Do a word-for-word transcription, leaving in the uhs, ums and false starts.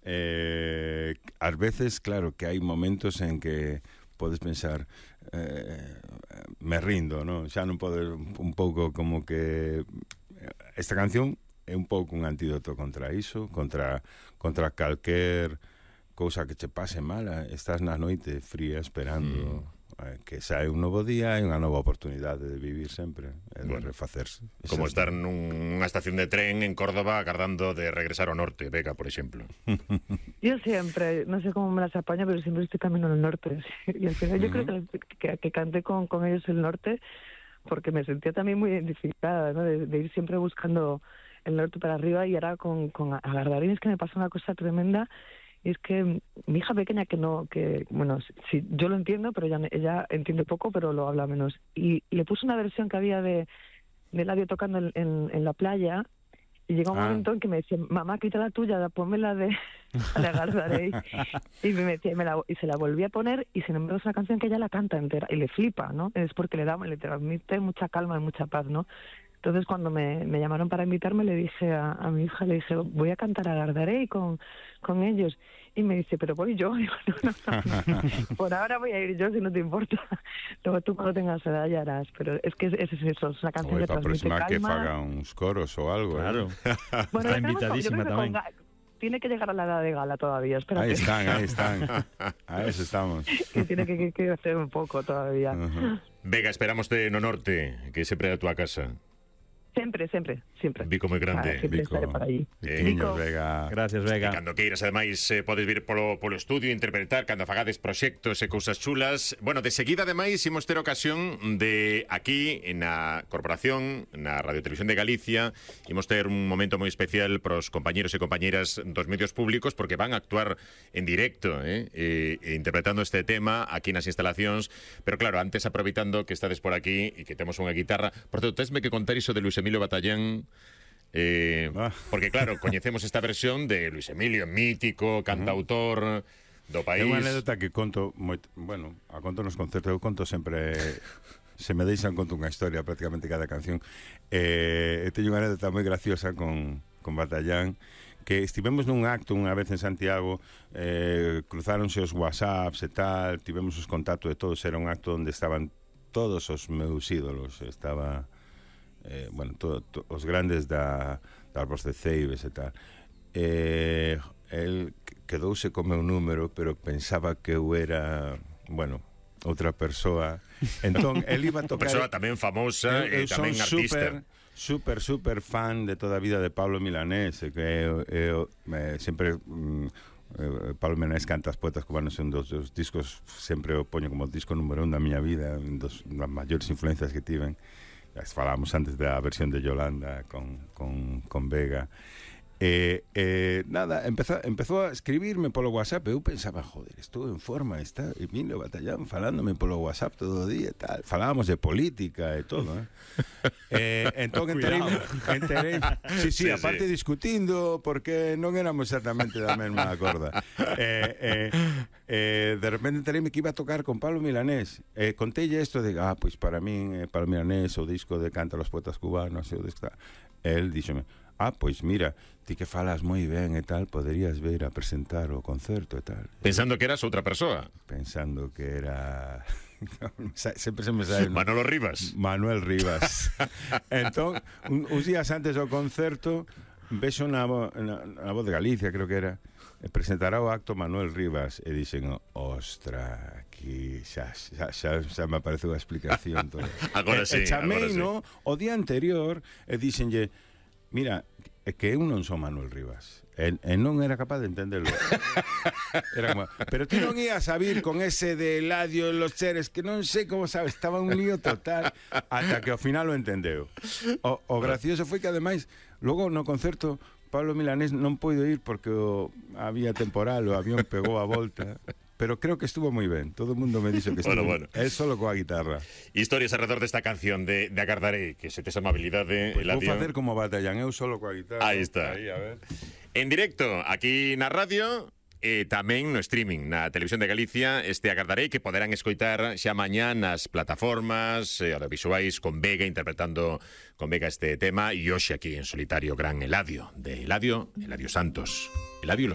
Eh, ás veces, claro, que hai momentos en que podes pensar eh, me rindo, non? Xa non podes un pouco como que esta canción é un pouco un antídoto contra iso, contra contra calquer cousa que che pase mala. Estás na noite fría esperando mm. eh, que sae un novo día e unha nova oportunidade de vivir sempre, e de bueno, refacerse. Como estar nunha estación de tren en Córdoba agardando de regresar ao norte, Vega, por exemplo. Yo siempre, no sé cómo me las apaño, pero siempre estoy camino al norte. Y al final yo uh-huh. creo que, que, que canté con, con ellos el norte porque me sentía también muy identificada, ¿no? De, de ir siempre buscando el norte para arriba, y ahora con, con Agardarín es que me pasa una cosa tremenda. Y es que mi hija pequeña, que no, que bueno, sí, yo lo entiendo, pero ella, ella entiende poco, pero lo habla menos. Y le puse una versión que había de, de Eladio tocando en, en, en la playa, y llegó un ah. momento en que me decía, mamá, quita la tuya, ponme la de Agardaré. Y me decía, y, me la, y se la volví a poner, y sin embargo es una canción que ella la canta entera, y le flipa, ¿no? Es porque le da, le transmite mucha calma y mucha paz, ¿no? Entonces, cuando me, me llamaron para invitarme, le dije a, a mi hija, le dije, voy a cantar Agardaré con, con ellos. Y me dice, pero voy yo. Digo, no, no, no, no. Por ahora voy a ir yo, si no te importa. Luego tú cuando tengas edad ya harás. Pero es que es, es eso, es una canción Oye, que transmite calma. que faga uns coros ou algo. Claro. ¿eh? Bueno, está invitadísima tamén. Tiene que llegar a la edad de gala todavía, espérate. Ahí están, ahí están. A eso estamos. Que tiene que, que, que hacer un poco todavía. Uh-huh. Vega, esperámoste no norte, que sempre é a túa casa. Sempre, sempre, sempre. Vico moi grande. Ah, sempre Vico. estaré por aí. Eh, Vico. Vega. Gracias, Vega. E cando queiras, ademais, eh, podes vir polo, polo estudio, interpretar, cando fagades proxectos e cousas chulas. Bueno, de seguida, ademais, imos ter ocasión de aquí, na Corporación, na Radio Televisión de Galicia, imos ter un momento moi especial pros compañeros e compañeras dos medios públicos, porque van a actuar en directo, eh, e, e interpretando este tema aquí nas instalacións. Pero claro, antes, aproveitando que estades por aquí e que temos unha guitarra, por certo, tesme que contar iso de Luis Emilio Batallán, eh, ah. porque claro, coñecemos esta versión de Luis Emilio, mítico, cantautor do país. É unha anécdota que conto moi, bueno, a conto nos concertos, eu conto sempre, se me deixan conto unha historia prácticamente cada canción. Eh, teño unha anécdota moi graciosa con, con Batallán, que estivemos nun acto unha vez en Santiago, eh, cruzáronse os whatsapps e tal, tivemos os contactos de todos, era un acto onde estaban todos os meus ídolos, estaba eh, bueno, to, to, os grandes da, da Arbos de Ceibes e tal. Eh, el quedouse co meu número, pero pensaba que eu era, bueno, outra persoa. Entón, el iba a tocar... Persoa tamén famosa e tamén artista. Super, super fan de toda a vida de Pablo Milanés, que eu, eu, eu sempre... Mm, eh, Pablo Milanés canta As Poetas Cubanos, un dos, dos discos, sempre o poño como disco número un da miña vida, un dos das maiores influencias que tiven. Falábamos antes da versión de Yolanda con, con, con Vega. Eh, eh, nada, empezó, empezó a escribirme polo WhatsApp. Eu pensaba, joder, estou en forma, está Emilio Batallán falándome polo WhatsApp todo o día e tal. Falábamos de política e todo, eh? eh entón enterei, enterei sí, sí, sí, aparte sí. discutindo, porque non éramos exactamente da mesma corda. Eh, eh, eh, de repente entereime que iba a tocar con Pablo Milanés. Eh, contelle isto de, ah, pois para min, eh, Pablo Milanés, o disco de Canta los Poetas Cubanos, o disco... El díxome, ah, pois mira, ti que falas moi ben e tal, poderías vir a presentar o concerto e tal. Pensando que eras outra persoa. Pensando que era... sempre se me sae... Manolo Rivas. Manuel Rivas. Entón, un, uns días antes do concerto, vexo na, na, na Voz de Galicia, creo que era, presentará o acto Manuel Rivas, e dixen, ostra, aquí xa, xa, xa, xa me apareceu a explicación todo. Agora sí, e, e chamei, agora sí. No, o día anterior, e dixenlle, mira, é que eu non son Manuel Rivas, e, e non era capaz de entenderlo. Era como, pero ti non ibas a vir con ese de Eladio en los Cheres, que non sei como sabes, estaba un lío total, ata que ao final o entendeu. O, o gracioso foi que ademais, logo no concerto, Pablo Milanés non puido ir porque o, había temporal, o avión pegou a volta. Pero creo que estuvo moi ben. Todo o mundo me dixo que estuvo bueno, bueno. É solo coa guitarra. Historias alrededor desta canción de, de Agardaré, que se tes amabilidade, pues Eladio. Vou facer como Batallán, eu solo coa guitarra. Aí está. Ahí, a ver. En directo, aquí na radio, e tamén no streaming, na Televisión de Galicia, este Agardaré, que poderán escoitar xa mañá nas plataformas eh, audiovisuais con Vega, interpretando con Vega este tema, e hoxe aquí en solitario gran Eladio, de Eladio, Eladio Santos. Eladio Los